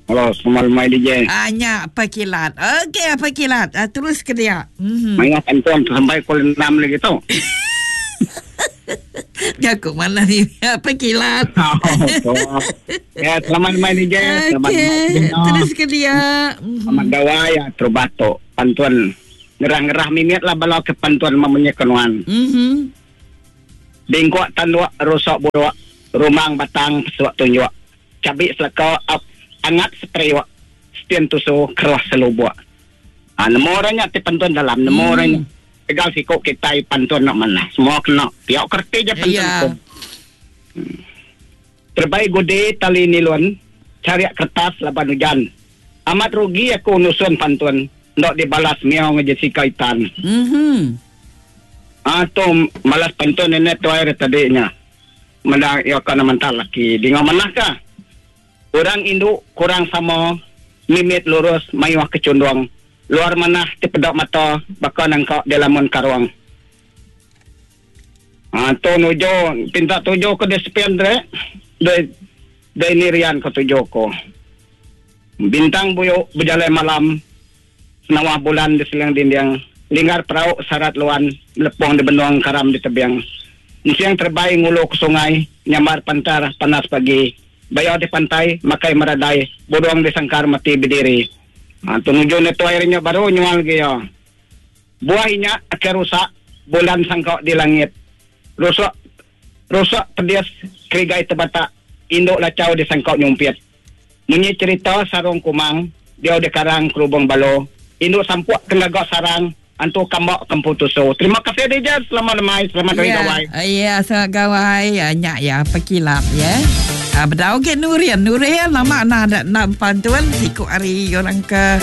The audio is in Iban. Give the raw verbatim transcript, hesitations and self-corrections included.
Halo, selamat lemai D J. Ah, nya pekilat. Okey, pekilat. Ah, terus ke dia. Mm-hmm. Mayat antuan sampai pukul enam lagi tu. Jago mana ni? Pekilat. Oh, ya, selamat lemai D J. Selamat okay. Terus ke dia. Selamat gawai ya terubah tu. Pantuan ngerah-ngerah mimit lah bala ke pantuan memunyi kenuan. Mhm. Bingkok tanduk rusak buruk, rumang batang pesuak tunjuk. Cabik selaka up angat sepriwak, setian tusu keras selubuk. Ah, nemu orangnya ti pantun dalam, nemu hmm. orangnya. Tegal sikok kita pantun nak mana. Semua kena. Tiap kerti je pantun. Yeah. Hmm. Terbaik gede tali nilon, cari kertas laban hujan. Amat rugi aku nusun pantun. Ndok dibalas miau nge Jessica Itan. Mhm. Ah, tu malas pantun ini tu air tadinya. Mendang ia kana mental laki. Di manah kah? Orang induk kurang sama mimit lurus mayuh kecundung. Luar manah ti pedok mata bakal nangkak di lamun karuang. Ah, tu nujo pinta tujo ke despian dre. De de nirian ke tujo ko. Bintang buyuk berjalan malam. Senawah bulan di selang dinding. Linggar perahu syarat luan lepong di benua karam di tebiang. Siang terbaik ngulu ke sungai, nyamar pantar panas pagi. Bayar di pantai, makai meradai, bodong di sangkar mati berdiri. Ha, tunuju ni tu airnya baru nyual ke ya. Buah inya akan rusak, bulan sangkok di langit. Rusak, rusak pedas kerigai terbatak, induk lacau di sangkok nyumpit. Munyi cerita sarung kumang, dia di karang kerubung balo. Induk sampuk kenagak sarang, antu kambak kempu tusu. Terima kasih D J, selamat lemai, selamat hari ya, gawai. Ya, selamat gawai. Ya, nyak ya, pekilap ya. Ah, bedau ke Nurian, Nurian lama nak nak bantuan siku hari orang ke